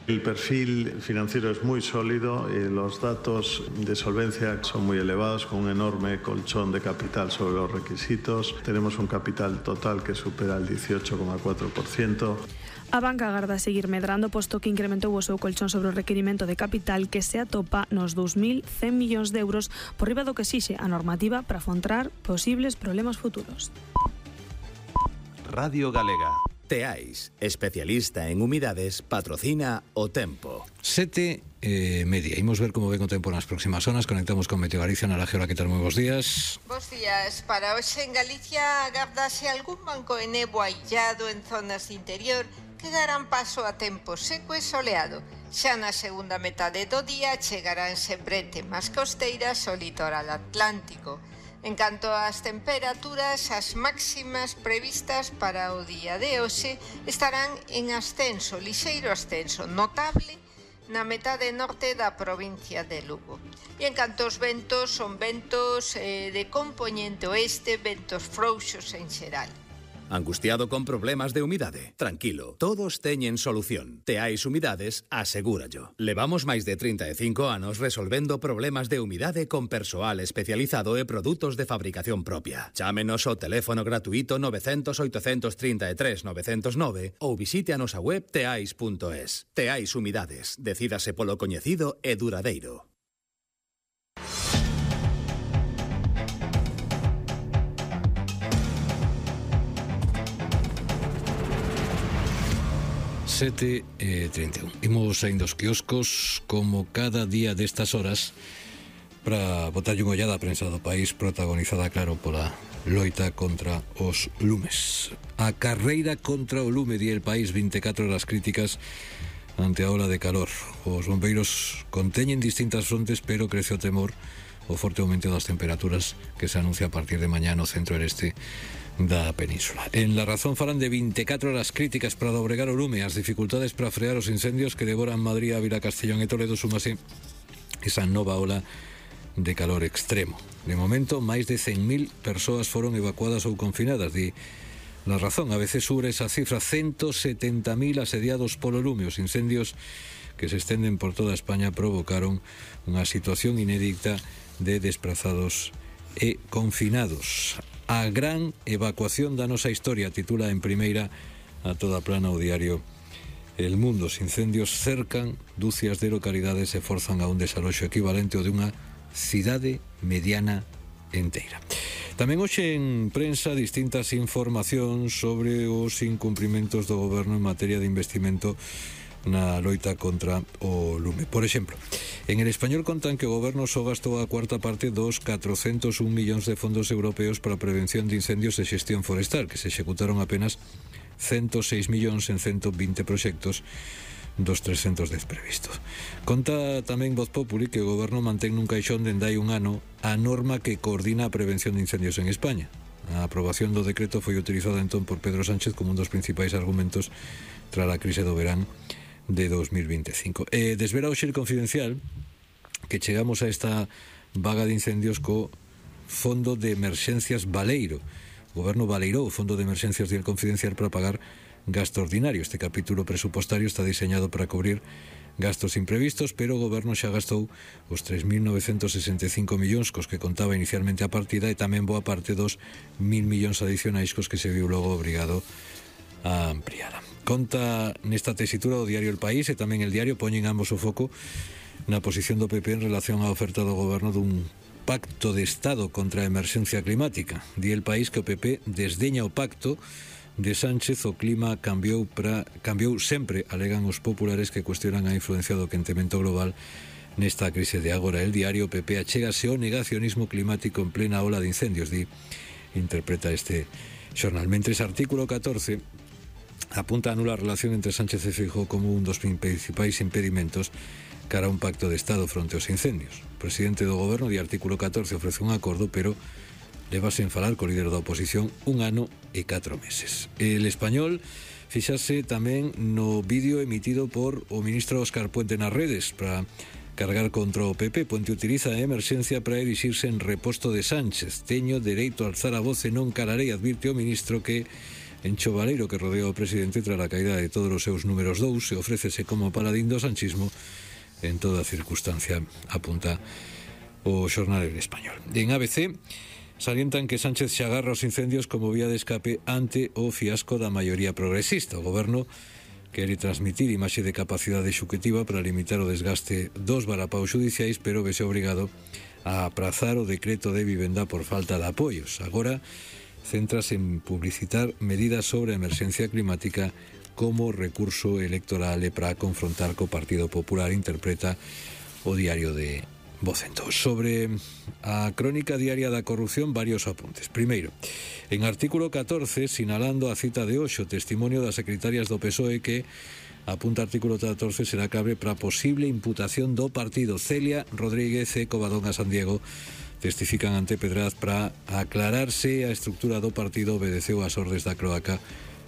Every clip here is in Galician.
El perfil financiero es muy sólido y los datos de solvencia son muy elevados, con un enorme colchón de capital sobre los requisitos. Tenemos un capital total que supera el 18,4%. A banca agarda seguir medrando, posto que incrementou o seu colchón sobre o requirimento de capital que se atopa nos 2.100 millóns de euros por riba do que exixe a normativa para afrontar posibles problemas futuros. Radio Galega. Teais, especialista en humidades, patrocina o tempo. 7:30. Imos ver como ven o tempo nas próximas zonas. Conectamos con Meteo Galicia. Nara Geora, que tal? Moi bons días. Bos días. Para hoxe en Galicia agárdase algún banco de néboa illado en zonas de interior que darán paso a tempo seco e soleado. Xa na segunda metade do día chegaránse brete máis costeiras ao litoral atlántico. En canto ás temperaturas, as máximas previstas para o día de hoxe estarán en ascenso, lixeiro ascenso, notable na metade norte da provincia de Lugo. E en canto aos ventos, son ventos de compoñente oeste, ventos frouxos en xeral. Angustiado con problemas de humidade? Tranquilo, todos teñen solución. Teais Humidades asegúrallo. Levamos máis de 35 anos resolvendo problemas de humidade con persoal especializado e produtos de fabricación propia. Chámenos ao teléfono gratuito 900 833 909 ou visite a nosa web teais.es. Teais Humidades. Decídase polo coñecido e duradeiro. Sete 31. Imos saindo os quioscos como cada día destas horas para botarlle unha ollada a prensa do país, protagonizada, claro, pola loita contra os lumes. A carreira contra o lume, di El País, 24 horas críticas ante a ola de calor. Os bombeiros conteñen distintas frontes, pero crece o temor o forte aumento das temperaturas que se anuncia a partir de mañá no centro e este da península. En La Razón falan de 24 horas críticas para dobregar o lume, as dificultades para frear os incendios que devoran Madrid, Ávila, Castellón e Toledo, súmase esa nova ola de calor extremo. De momento, máis de 100.000 persoas foron evacuadas ou confinadas, di La Razón. A veces sobre esa cifra, 170.000 asediados polo lume. Os incendios que se estenden por toda España provocaron unha situación inédita de desplazados e confinados. A gran evacuación da nosa historia, titula en primeira a toda plana o diario El Mundo. Os incendios cercan dúcias de localidades e forzan a un desaloxo equivalente ao de unha cidade mediana enteira. Tamén hoxe en prensa distintas informacións sobre os incumprimentos do goberno en materia de investimento na loita contra o lume. Por exemplo, en El Español contan que o goberno só gastou a cuarta parte dos 401 millóns de fondos europeos para a prevención de incendios e xestión forestal, que se executaron apenas 106 millóns en 120 proxectos dos 310 previstos. Conta tamén Voz Populi que o goberno mantén nun caixón dende hai un ano a norma que coordina a prevención de incendios en España. A aprobación do decreto foi utilizada entón por Pedro Sánchez como un dos principais argumentos tras a crise do verán de 2025. Desvela hoxe El Confidencial que chegamos a esta vaga de incendios co Fondo de Emerxencias Baleiro. O goberno baleirou o Fondo de Emerxencias de El Confidencial para pagar gasto ordinario. Este capítulo presupostario está diseñado para cubrir gastos imprevistos, pero o goberno xa gastou os 3.965 millóns cos que contaba inicialmente a partida e tamén boa parte dos 1.000 millóns adicionais cos que se viu logo obrigado a ampliada. Conta nesta tesitura o diario El País e tamén El Diario poñen ambos o foco na posición do PP en relación á oferta do goberno dun pacto de Estado contra a emerxencia climática. Di El País que o PP desdeña o pacto de Sánchez. O clima cambiou sempre, alegan os populares que cuestionan a influencia do quentemento global nesta crise de agora. El Diario, o PP achégase ao negacionismo climático en plena ola de incendios, interpreta este xornal. Mentres artículo 14 apunta a nula relación entre Sánchez e Feijóo como un dos principais impedimentos cara a un pacto de Estado fronte aos incendios. O presidente do goberno, de artículo 14, ofrece un acordo, pero leva sen falar co líder da oposición 1 ano e 4 meses. El Español fíxase tamén no vídeo emitido por o ministro Óscar Puente nas redes para cargar contra o PP. Puente utiliza a emerxencia para erixirse en reposto de Sánchez. Teño dereito a alzar a voz e non calarei, advirte o ministro, que encho baleiro que rodea o presidente tras a caída de todos os seus números 2 e ofrécese como paladín do sanchismo en toda circunstancia, apunta o xornal español. En ABC salientan que Sánchez se agarra aos incendios como vía de escape ante o fiasco da maioría progresista. O goberno quere transmitir imaxe de capacidade executiva para limitar o desgaste dos varapaus judiciais, pero vese obrigado a aprazar o decreto de vivenda por falta de apoios. Agora centras en publicitar medidas sobre a emerxencia climática como recurso electoral e para confrontar co Partido Popular, interpreta o diario de Vocento. Sobre a crónica diaria da corrupción, varios apuntes. Primeiro, en artículo 14, sinalando a cita de hoxe, o testimonio das secretarias do PSOE que, apunta artículo 14, será cabe para posible imputación do partido. Celia Rodríguez e Covadonga San Diego testifican ante Pedraz para aclararse a estructura do partido obedeceu ás ordes da cloaca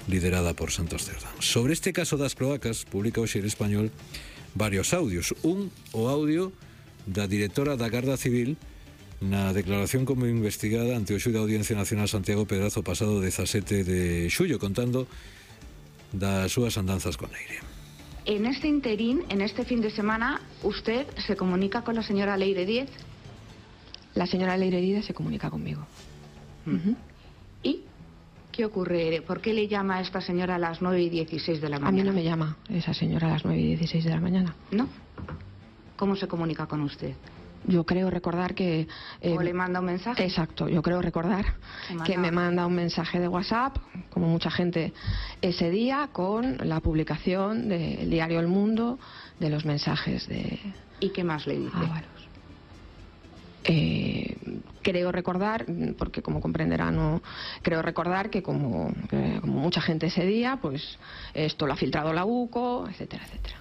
liderada por Santos Cerdán. Sobre este caso das cloacas, publica hoxe El Español varios audios. O audio da directora da Garda Civil na declaración como investigada ante o xuíz da Audiencia Nacional Santiago Pedraz o pasado 17 de xullo, contando das súas andanzas con Leire. En este interín, en este fin de semana, ¿usted se comunica con la señora Leire Díez? La señora Leire Díez se comunica conmigo. ¿Y qué ocurre? ¿Por qué le llama a esta señora a las 9:16 de la mañana? A mí no me llama esa señora a las 9:16 de la mañana. ¿No? ¿Cómo se comunica con usted? Yo creo recordar que... ¿O le manda un mensaje? Exacto, yo creo recordar que me manda un mensaje de WhatsApp, como mucha gente ese día, con la publicación del diario El Mundo, de los mensajes de... ¿Y qué más le dice? Ábalos. Creo recordar, porque como comprenderá, no creo recordar que como mucha gente ese día, pues esto lo ha filtrado la UCO, etcétera, etcétera.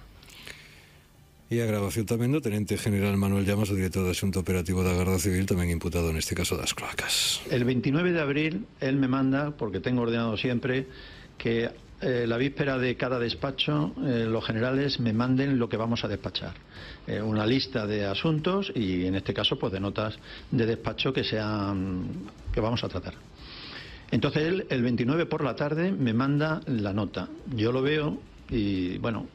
E a grabación tamén do Tenente General Manuel Llamas, o director do Asunto Operativo da Garda Civil, tamén imputado neste caso das cloacas. El 29 de abril él me manda, porque tengo ordenado siempre, que la víspera de cada despacho los generales me manden lo que vamos a despachar. Una lista de asuntos y en este caso pues de notas de despacho que vamos a tratar. Entonces él el 29 por la tarde me manda la nota. Yo lo veo y bueno...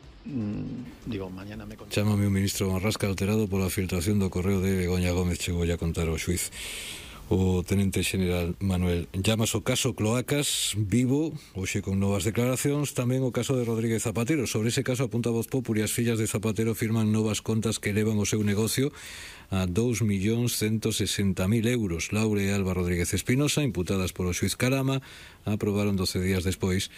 digo, mañana me contaré. Chámame o ministro Marrasca alterado pola filtración do correo de Begoña Gómez, chegou a contar ao xuiz o Tenente General Manuel Llamas. O caso Cloacas vivo hoxe con novas declaracións, tamén o caso de Rodríguez Zapatero. Sobre ese caso apunta Voz Populi, as fillas de Zapatero firman novas contas que elevan o seu negocio a 2.160.000 euros. Laura e Alba Rodríguez Espinosa, imputadas polo xuiz Carama, aprobaron 12 días despois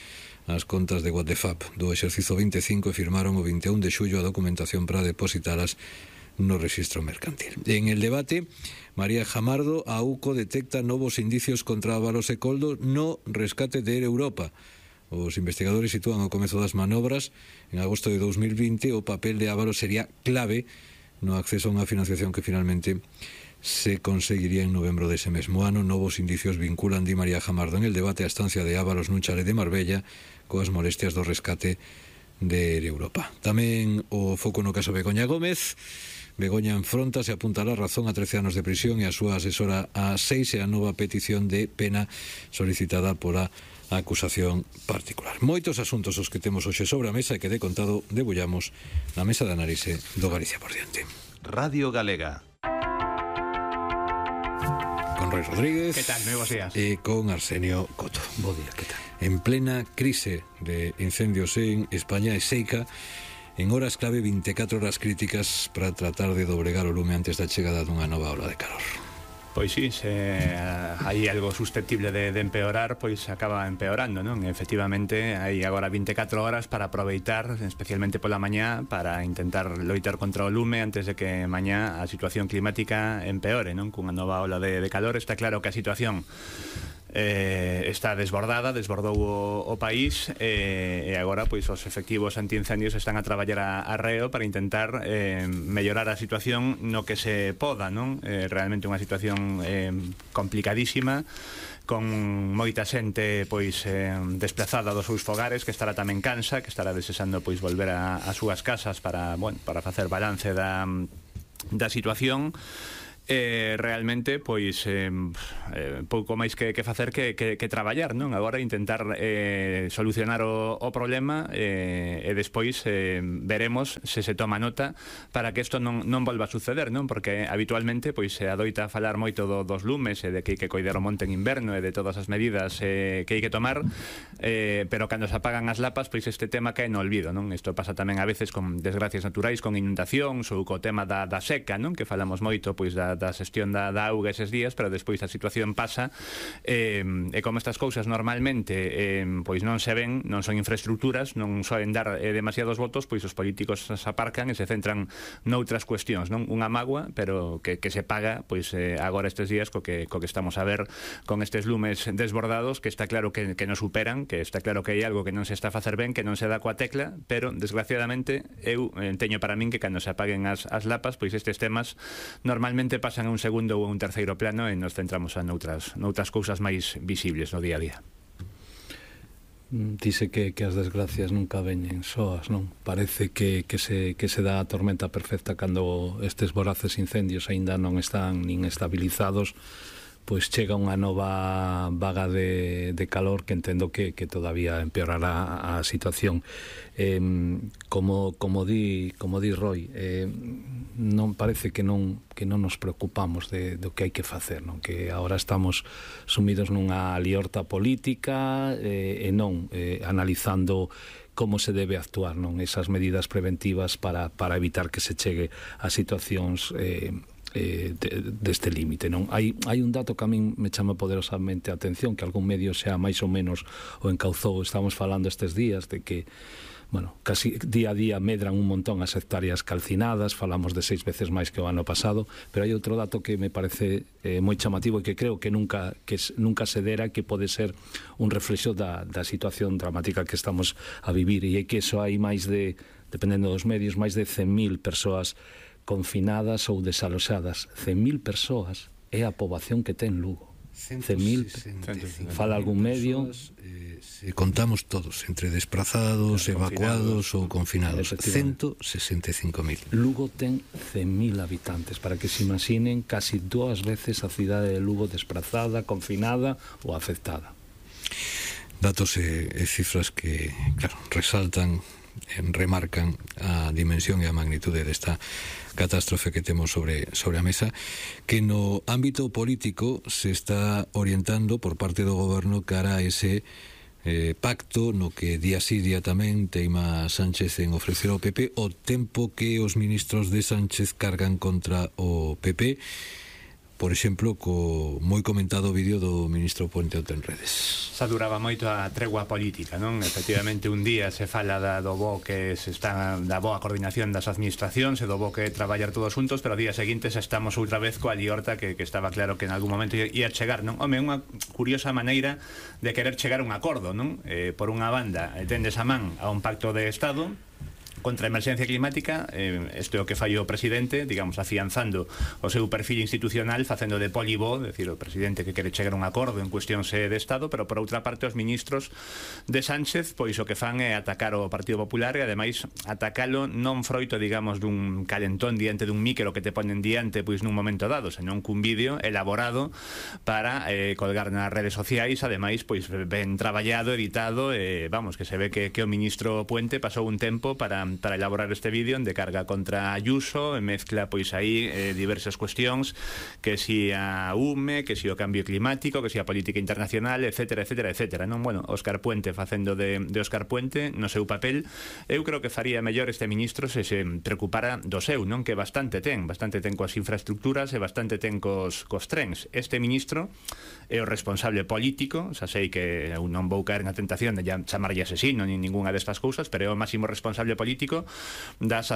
as contas de WhatsApp do exercizo 25 e firmaron o 21 de xullo a documentación para depositalas no rexistro mercantil. En el debate, María Jamardo, a UCO detecta novos indicios contra Ábalos e Coldo no rescate de Air Europa. Os investigadores sitúan ao comezo das manobras en agosto de 2020 o papel de Ábalos sería clave no acceso a unha financiación que finalmente se conseguiría en novembro dese mesmo ano. Novos indicios vinculan, di María Jamardo, en el debate a estancia de Ábalos nun chalet de Marbella coas molestias do rescate de Europa. Tamén o foco no caso Begoña Gómez. Begoña enfronta se apuntará a razón a 13 anos de prisión e a súa asesora a 6 e a nova petición de pena solicitada pola acusación particular. Moitos asuntos os que temos hoxe sobre a mesa e que de contado debullamos na mesa de análise do Galicia por diante. Radio Galega. Con Roy Rodríguez. ¿Qué tal? Muy buenos días. E con Arsenio Coto. Bo día, ¿qué tal? En plena crise de incendios en España e seica, en horas clave 24 horas críticas para tratar de doblegar o lume antes da chegada dunha nova ola de calor. Pois sí, se hai algo susceptible de empeorar, pois acaba empeorando, non? Efectivamente, hai agora 24 horas para aproveitar, especialmente pola mañá, para intentar loitar contra o lume antes de que mañá a situación climática empeore, non? Cunha nova ola de calor. Está claro que a situación está desbordou o país e agora pois os efectivos antiincendios están a traballar a reo para intentar mellorar a situación no que se poda, non? Realmente unha situación complicadísima, con moita xente pois desplazada dos seus fogares, que estará tamén cansa, que estará desexando pois volver a súas casas para facer balance da situación. realmente pois pouco máis que facer que traballar, non? Agora intentar solucionar o problema e despois veremos se toma nota para que isto non volva a suceder, non? Porque habitualmente pois se adoita a falar moito dos lumes e de que hai que coidar o monte en inverno e de todas as medidas que hai que tomar, pero cando se apagan as lapas pois este tema cae no olvido, non? Isto pasa tamén a veces con desgracias naturais, con inundacións ou co tema da seca, non? Que falamos moito pois da xestión da auga eses días, pero despois a situación pasa e como estas cousas normalmente pois non se ven, non son infraestructuras, non soen dar demasiados votos, pois os políticos se aparcan e se centran noutras cuestións, non? Unha mágoa, pero que se paga pois agora estes días co que estamos a ver con estes lumes desbordados, que está claro que nos superan, que está claro que hai algo que non se está a facer ben, que non se dá coa tecla, pero desgraciadamente eu teño para min que cando se apaguen as lapas, pois estes temas normalmente pasan a un segundo ou un terceiro plano e nos centramos noutras cousas máis visibles no día a día. Dice que as desgracias nunca veñen soas, non? Parece que se dá a tormenta perfecta cando estes voraces incendios aínda non están nin estabilizados, pois chega unha nova vaga de calor que entendo que todavía empeorará a situación. Como di Roy, non parece que non nos preocupamos do que hai que facer, non? Que agora estamos sumidos nunha liorta política e non analizando como se debe actuar, non? Esas medidas preventivas para evitar que se chegue a situacións deste límite, non? Hai un dato que a min me chama poderosamente a atención, que algún medio xa máis ou menos o encauzou. Estamos falando estes días de que casi día a día medran un montón as hectáreas calcinadas, falamos de 6 veces máis que o ano pasado, pero hai outro dato que me parece moi chamativo e que creo que nunca se dera, que pode ser un reflexo da situación dramática que estamos a vivir, e é que eso hai máis de, dependendo dos medios, máis de 100.000 persoas confinadas ou desaloxadas. 100.000 persoas é a poboación que ten Lugo. 100.000, fala algún medio, se contamos todos, entre desplazados, evacuados ou confinados, 165.000. Lugo ten 100.000 habitantes, para que se imaginen casi 2 veces a cidade de Lugo desplazada, confinada ou afectada. Datos e cifras que, claro, resaltan, remarcan a dimensión e a magnitude desta catástrofe que temos sobre a mesa, que no ámbito político se está orientando por parte do goberno cara a ese pacto no que día sí día tamén teima Sánchez en ofrecer ao PP o tempo que os ministros de Sánchez cargan contra o PP, por exemplo, co moi comentado vídeo do ministro Puente en redes. Xa duraba moito a tregua política, non? Efectivamente, un día se fala do bo que se está, da boa coordinación das administracións e do bo que traballar todos juntos, pero ao día seguinte xa estamos outra vez coa liorta que estaba claro que en algún momento ia chegar, non? Home, unha curiosa maneira de querer chegar a un acordo, non? Por unha banda, tendes a man a un pacto de Estado contra a emerxencia climática, isto é o que fai o presidente, digamos, afianzando o seu perfil institucional, facendo de polibó, decir, o presidente que quere chegar a un acordo en cuestións de Estado, pero por outra parte os ministros de Sánchez, pois o que fan é atacar o Partido Popular e ademais atacalo non froito, digamos, dun calentón diante dun micro que te ponen diante pois nun momento dado, senón cun vídeo elaborado para colgar nas redes sociais, ademais, pois ben traballado, editado, vamos, que se ve que o ministro Puente pasou un tempo para elaborar este vídeo de carga contra Ayuso, mezcla pois aí diversas cuestións, que si a UME, que si o cambio climático, que si a política internacional, etcétera, etcétera, etcétera, non? Bueno, Óscar Puente facendo de Óscar Puente no seu papel. Eu creo que faría mellor este ministro se preocupara do seu, non? Que bastante ten coas infraestructuras e bastante ten cos trens. Este ministro é o responsable político, xa sei que eu non vou caer na tentación de chamarlle asesino nin ninguna destas cousas, pero é o máximo responsable político das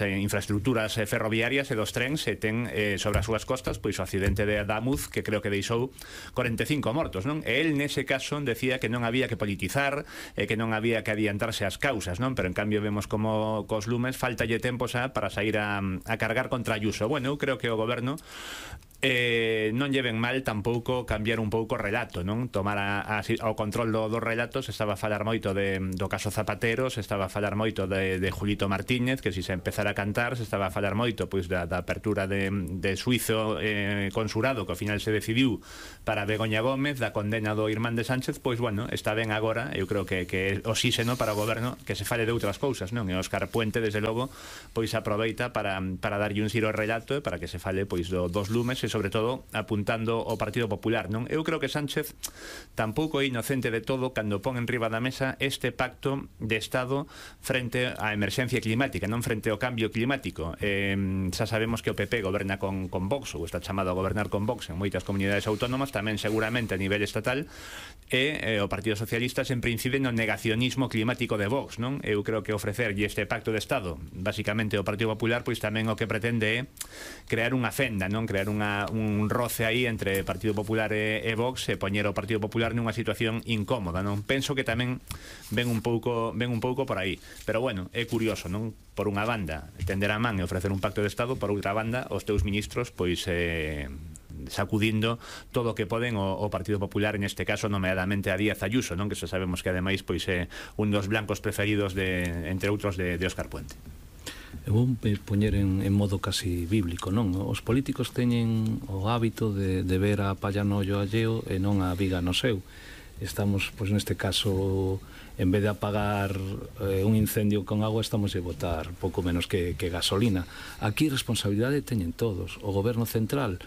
infraestructuras ferroviarias e dos trens, e ten sobre as súas costas pois o accidente de Adamuz, que creo que deixou 45 mortos, non? E el nese caso decía que non había que politizar e que non había que adiantarse ás causas, non? Pero en cambio vemos como cos lumes faltalle tempo xa para sair a cargar contra Ayuso. Bueno, eu creo que o goberno non lleven mal tampouco cambiar un pouco o relato, non? Tomar ao control do relato. Se estaba a falar moito do caso Zapatero, se estaba a falar moito de Julito Martínez, que si se empezara a cantar, se estaba a falar moito pois da apertura de suizo consurado, que ao final se decidiu para Begoña Gómez, da condena do irmán de Sánchez. Pois bueno, está ben agora, eu creo que é oxíxeno para o goberno que se fale de outras cousas, non? E Óscar Puente, desde logo, pois aproveita para darlle un xiro ao relato, para que se fale pois dos lumes, e sobre todo apuntando ao Partido Popular, non? Eu creo que Sánchez tampouco é inocente de todo cando pon en riba da mesa este pacto de Estado frente á emerxencia climática, non frente ao cambio climático. Xa sabemos que o PP goberna con Vox, ou está chamado a gobernar con Vox en moitas comunidades autónomas, tamén seguramente a nivel estatal, e o Partido Socialista sempre incide no negacionismo climático de Vox, non? Eu creo que ofrecerlle este pacto de Estado basicamente ao Partido Popular, pois tamén o que pretende é crear unha fenda, non? Crear un roce aí entre Partido Popular e Vox, e poñer o Partido Popular nunha situación incómoda, non? Penso que tamén ven un pouco por aí, pero bueno, é curioso, non? Por unha banda tender a man e ofrecer un pacto de Estado, por outra banda os teus ministros pois sacudindo todo o que poden o Partido Popular, en este caso nomeadamente a Díaz Ayuso, non? Que xa sabemos que ademais pois é un dos blancos preferidos entre outros de Óscar Puente. Eu vou poñer en modo casi bíblico, non? Os políticos teñen o hábito de ver a palla no ollo alleo e non a viga no seu. Estamos, pois neste caso, en vez de apagar un incendio con agua, estamos a botar pouco menos que gasolina. Aquí responsabilidade teñen todos. O goberno central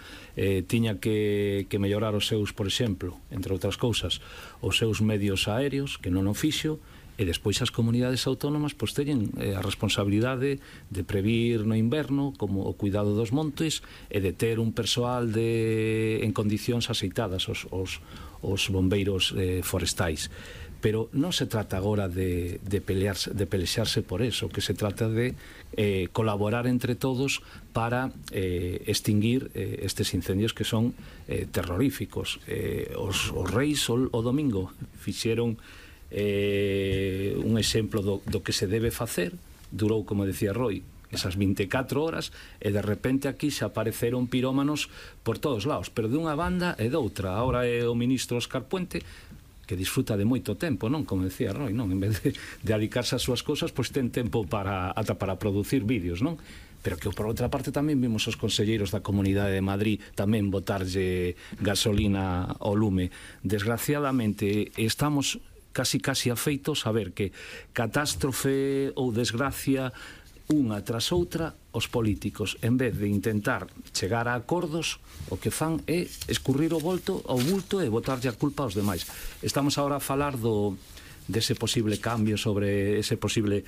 tiña que mellorar os seus, por exemplo, entre outras cousas, os seus medios aéreos, que non o fixo, e despois as comunidades autónomas pois teñen a responsabilidade de previr no inverno como o cuidado dos montes e de ter un persoal en condicións aceitadas, os bombeiros forestais. Pero non se trata agora de pelexarse por eso, que se trata de colaborar entre todos para extinguir estes incendios que son terroríficos. Os reis o domingo fixeron un exemplo do que se debe facer. Durou, como decía Roy, esas 24 horas, e de repente aquí se apareceron pirómanos por todos lados, pero de unha banda e doutra. Ahora é o ministro Óscar Puente, que disfruta de moito tempo, non? Como decía Roy, non? En vez de dedicarse ás súas cousas, pois ten tempo ata para producir vídeos, non? Pero que por outra parte tamén vimos os conselleiros da Comunidade de Madrid tamén botarlle gasolina ao lume. Desgraciadamente estamos casi afeitos a ver que catástrofe ou desgracia unha tras outra, os políticos, en vez de intentar chegar a acordos, o que fan é escurrir o bulto e botarlle a culpa aos demais. Estamos agora a falar dese posible cambio, sobre ese posible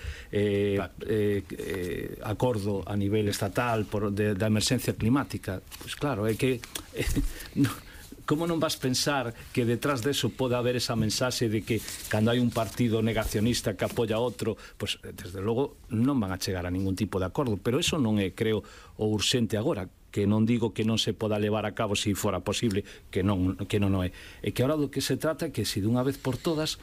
acordo a nivel estatal da emerxencia climática. Pois claro, é que como non vas pensar que detrás deso pode haber esa mensaxe de que cando hai un partido negacionista que apoia outro, pois desde logo non van a chegar a ningún tipo de acordo. Pero eso non é, creo, o urxente agora, que non digo que non se poda levar a cabo se fora posible, que non é. É que agora do que se trata é que se dunha vez por todas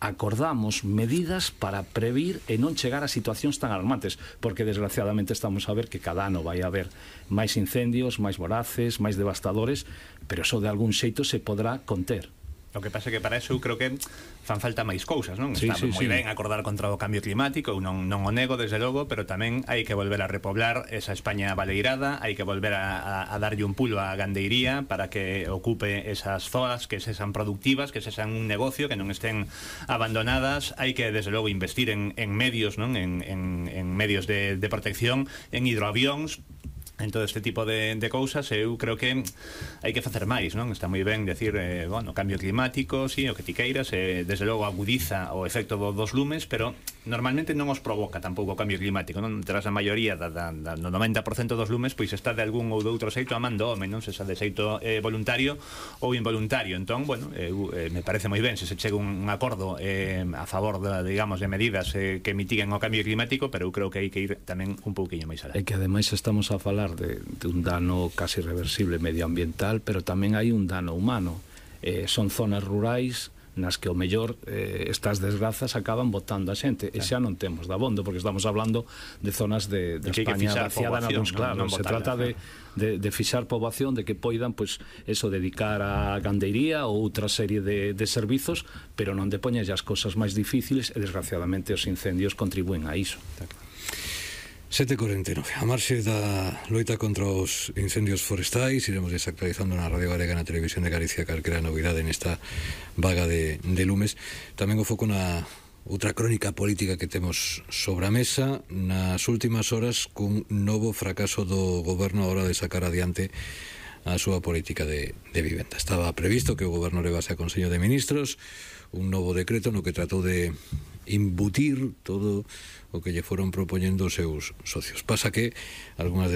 acordamos medidas para previr e non chegar a situacións tan alarmantes, porque desgraciadamente estamos a ver que cada ano vai haber máis incendios, máis voraces, máis devastadores, pero eso de algún xeito se podrá conter. O que pasa é que para eso eu creo que fan falta máis cousas, non? Está moi ben acordar contra o cambio climático, eu non o nego, desde logo, pero tamén hai que volver a repoblar esa España baleirada, hai que volver a darlle un pulo á gandeiría para que ocupe esas zonas, que sexan productivas, que sexan un negocio, que non estén abandonadas. Hai que, desde logo, investir en medios, non? En medios de protección, en hidroavións, en todo este tipo de cousas. Eu creo que hai que facer máis, non? Está moi ben decir, bueno, cambio climático, sí, o que ti queiras, desde logo agudiza o efecto dos lumes, pero normalmente non os provoca tampouco o cambio climático, non? Tras a maioría no 90% dos lumes, pois está de algún ou de outro xeito a man do home, non? Se xa de xeito voluntario ou involuntario. Entón, bueno, me parece moi ben se se chega un acordo a favor, digamos, de medidas que mitiguen o cambio climático, pero eu creo que hai que ir tamén un pouquiño máis alá. É que ademais estamos a falar de un dano casi reversible medioambiental, pero tamén hai un dano humano. Son zonas rurais nas que o mellor estas desgrazas acaban botando a xente, e xa non temos dabondo, porque estamos hablando de zonas de España vaciada nalgúns, claro, se trata de fixar poboación, de que poidan, pois, eso, dedicar a gandeiría ou outra serie de servizos, pero non de poñer as cosas máis difíciles, e desgraciadamente os incendios contribúen a iso. 7:49. A marxe da loita contra os incendios forestais, iremos desactualizando na Radio Galega, na Televisión de Galicia, calquera novidade nesta vaga de lumes. Tamén o foco na outra crónica política que temos sobre a mesa nas últimas horas, cun novo fracaso do goberno a hora de sacar adiante a súa política de vivenda. Estaba previsto que o goberno levase a Consello de Ministros un novo decreto no que tratou de imbutir todo o que lle foron propoñendo os seus socios. Pasa que algunhas